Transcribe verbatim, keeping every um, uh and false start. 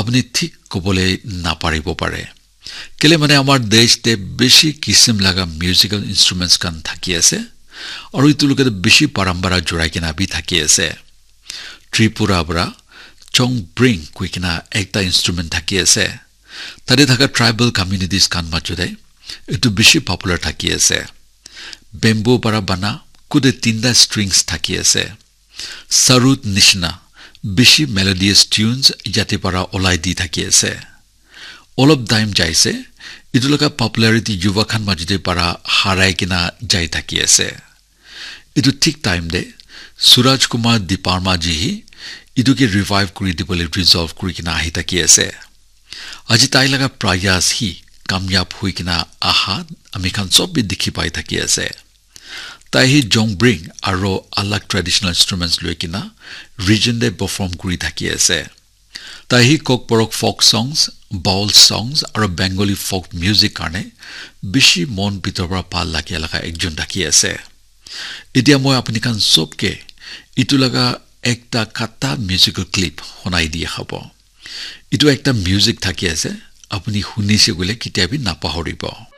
apuni thik kobole naparibo pare. Kele mane amar desh te bishi kisim laga musical instruments khan thaki ase. Aru itu logote bishi parampara jurai kena bi thaki ase. Tripura para chongbring koi kena ekta instrument thaki ase. Tate thaka tribal communities khan majo te itu bishi popular thaki ase. Bamboo para bana kude tinta strings thaki ase. Sarut nishina bishi melodious tunes yate para olai di thaki ase. Olop time jaise, itu laga popularity yuva khan majo te para harai kena jai thaki ase. Itu thik time te Suraj Kumar Debarma ji hi itu ke revive kuri dibole resolve kuri kena ahi thaki ase. Aji tai laga prayas hi kamyab hui kena aha ami khan sob bi dikhi pai thaki ase. Tai hi jongbring aro alag traditional instruments loi kena region te perform kuri thaki ase. Tai hi Kokborok folk songs, Baul songs aro Bengali folk music karne bishi mon bitor para bhal lage laga ekjon thaki ase. Etia moi apuni khan sob ke itu laga ekta kata musical clip honai dia khabo. Itu ekta music thaki ase, apuni hunise koile ketia bi napahoribo.